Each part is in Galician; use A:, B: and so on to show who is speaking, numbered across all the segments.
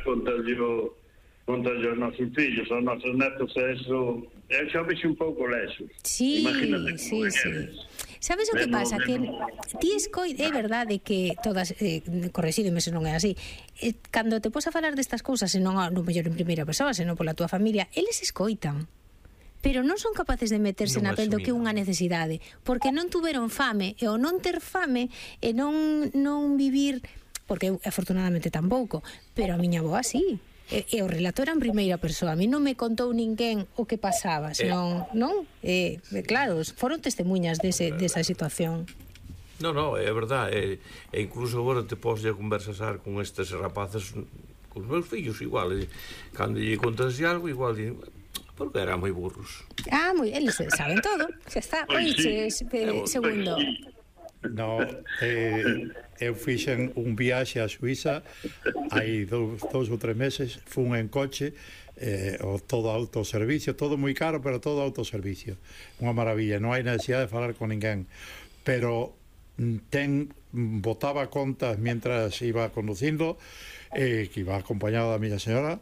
A: contalle aos nosos fillos, aos nosos netos, eso, xa vexo un pouco lexos.
B: Sí,
A: Imagínate
B: sí. Sabes o que pasa? Que ti é verdade que todas, correxídeme se non é así, cando te pos a falar destas cousas, e non no mellor en primeira persoa, senón pola túa familia, eles escoitan, pero non son capaces de meterse na pel do que é unha necesidade, porque non tuveron fame, e o non ter fame e non vivir, porque eu afortunadamente tampouco, pero a miña avoa sí. E o relato era en primeira persoa. A mí non me contou ninguén o que pasaba, senón, non? Claro, foron testemunhas desa situación.
C: Non, é verdade. E incluso agora te podes conversar con estes rapaces, con os meus fillos igual, cando lle contas algo igual porque eran moi burros.
B: Eles saben todo. Xa está. Oiches, segundo.
D: No, eu fixen un viaxe a Suiza hai 2 ou 3 meses, fun en coche, todo autoservicio, todo moi caro, pero todo autoservicio, unha maravilla, non hai necesidade de falar con ninguén, pero botaba contas mientras iba conducindo, que iba acompañado da miña señora,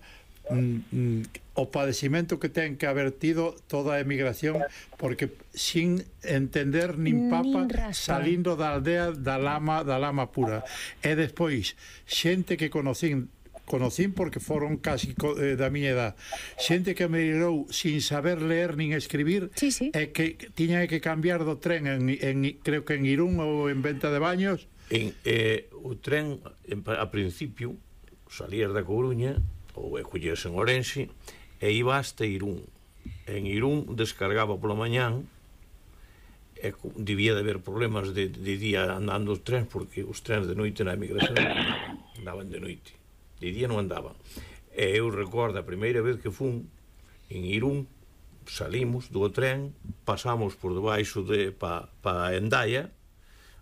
D: o padecimento que ten que haber tido toda a emigración, porque sin entender nin papa, salindo da aldea da lama pura, e despois xente que conocín porque foron casi da miña edad, xente que me emigrou sin saber ler nin escribir, e que tiña que cambiar do tren creo que en Irún ou en Venta de Baños.
C: O tren a principio salías da Coruña ou collías en Ourense e iba hasta Irún. En Irún descargaba pola mañán, e debía de haber problemas de día andando os trens, porque os trens de noite na emigración andaban de noite, de día non andaban. E eu recordo a primeira vez que fun en Irún, salimos do tren, pasamos por debaixo pa Endaya,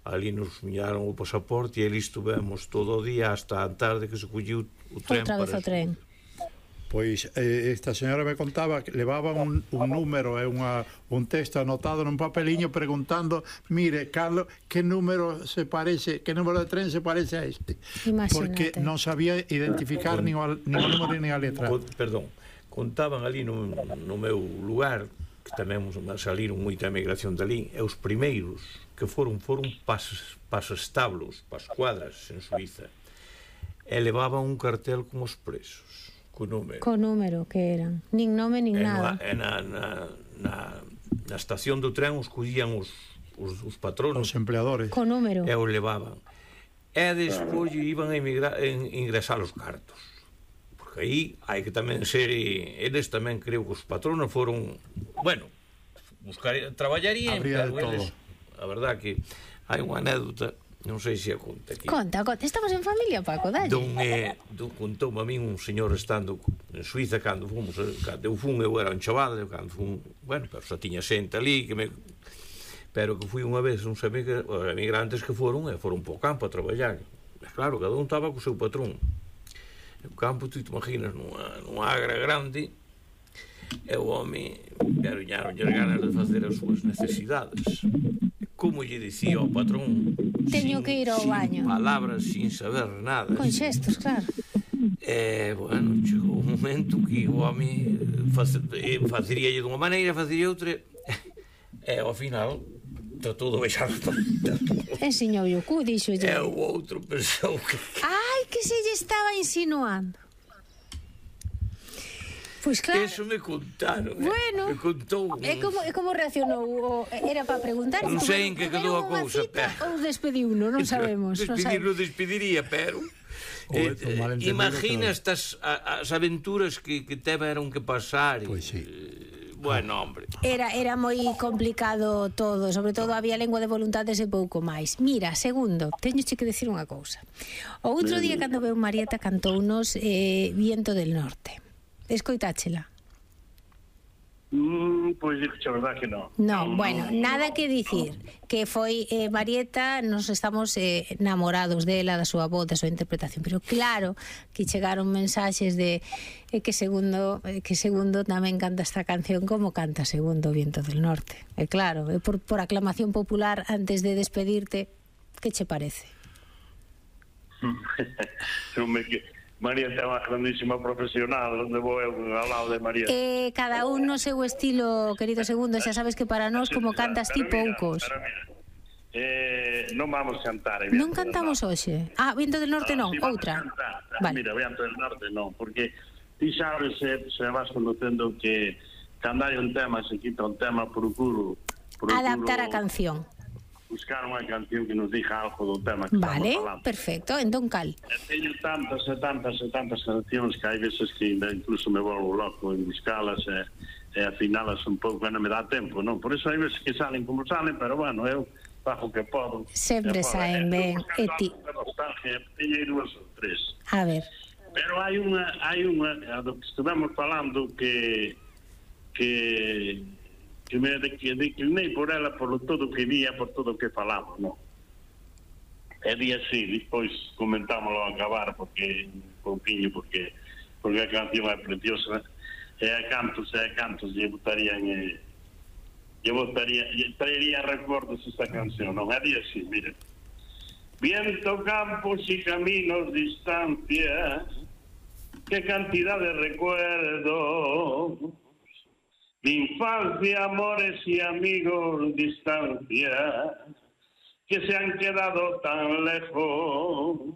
C: ali nos miraron o pasaporte e ali estuvemos todo o día hasta a tarde que se colliu o tren.
B: Outra vez o tren.
D: Pois esta señora me contaba que levaba un número e un texto anotado nun papeliño preguntando, mire, Carlos, que número de tren se parece a este?
B: Imagínate.
D: Porque non sabía identificar nin o número nin a letra.
C: Perdón, contaban ali no meu lugar, que tamén saliron moita emigración dali, e os primeiros que foron pasestablos, pas cuadras en Suiza, e levaban un cartel con os presos, co número que eran, nin nome nin nada. Na estación do tren os collían os patronos,
D: os empleadores,
B: co número,
C: e os levaban, e despois iban a ingresar os cartos, porque aí hai que tamén ser, eles tamén creo que os patronos foron, bueno, traballarían, pero eles, a verdad que hai unha anécdota, non sei se a conta aquí.
B: Conta, estamos en familia, Paco, dalle.
C: Contoume a min un señor estando en Suiza cando eu fun, eu era un chaval, cando fun, bueno, pero xa tiña xente ali, pero que fui unha vez uns emigrantes que foron po campo a traballar. Claro, cada un estaba co seu patrón. O campo, tú te imaginas, nunha agra grande, e o home garoñaron ganas de facer as súas necesidades. Como lle dicía ao patrón,
B: teño que ir ao baño,
C: sin palabras, sin saber nada,
B: con xestos, claro.
C: Bueno, chegou un momento que o home faceríalle dunha maneira, facería outra, e ao final tratou de baixar a paleta.
B: Enseñou o cu, dixolle.
C: E o outro pensou que...
B: Ai, que se lle estaba insinuando. Pois claro.
C: Eso me contaron.
B: Bueno,
C: me contou.
B: E como reaccionou? Era para preguntar?
C: Non sei en que quedou a cousa,
B: ou despediuno, non sabemos.
C: Despedirlo despediría, pero imagina estas as aventuras que tiveron que pasar.
D: Pois sí.
C: Bueno, hombre.
B: Era moi complicado todo, sobre todo había lengua de voluntades e pouco máis. Mira, segundo, teñoche que decir unha cousa. O outro día cando veu Marieta cantounos Viento del Norte. Escoitáchela?
A: Pois a verdad que non.
B: Non, bueno, nada que dicir. Que foi Marieta, nos estamos enamorados dela, da súa voz, da súa interpretación. Pero claro que chegaron mensaxes de que segundo tamén canta esta canción como canta Segundo Viento del Norte. E claro, por aclamación popular, antes de despedirte, que che parece?
A: María ten unha grandísima profesional, onde vou eu ao lado de María.
B: Cada un no seu estilo, querido Segundo, xa sabes que para nós como cantas ti poucos.
A: Non vamos cantar.
B: Non cantamos hoxe? Viento del Norte non, outra.
A: Vale. Mira, Viento del Norte non, porque ti sabes, se vas conocendo que cando hai un tema, se quita un tema, procuro
B: adaptar a canción.
A: Buscar unha canción que nos diga algo do tema que
B: vale,
A: estamos falando.
B: Perfecto, entón cal?
A: Teño tantas cancións que hai veces que incluso me volvo loco en buscalas e afinalas un pouco, non me dá tempo, non? Por iso hai veces que salen como salen, pero bueno, eu fajo que podo.
B: Sempre saen ben.
A: E ti? Teño dúas ou tres.
B: A ver.
A: Pero hai unha do que estivemos falando que me declinei por ela por todo o que vía, por todo o que falamos, non? E di así, despois comentámoslo a acabar porque a canción é preciosa e a cantos lle traería recordos esta canción, non? É di así, mire. Viento, campos y caminos, distancia, qué cantidad de recuerdos, mi infancia, amores y amigos, distancia, que se han quedado tan lejos,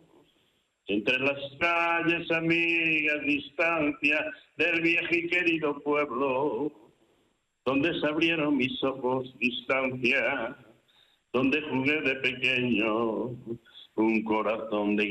A: entre las calles, amigas, distancia, del viejo y querido pueblo, donde se abrieron mis ojos, distancia, donde jugué de pequeño, un corazón de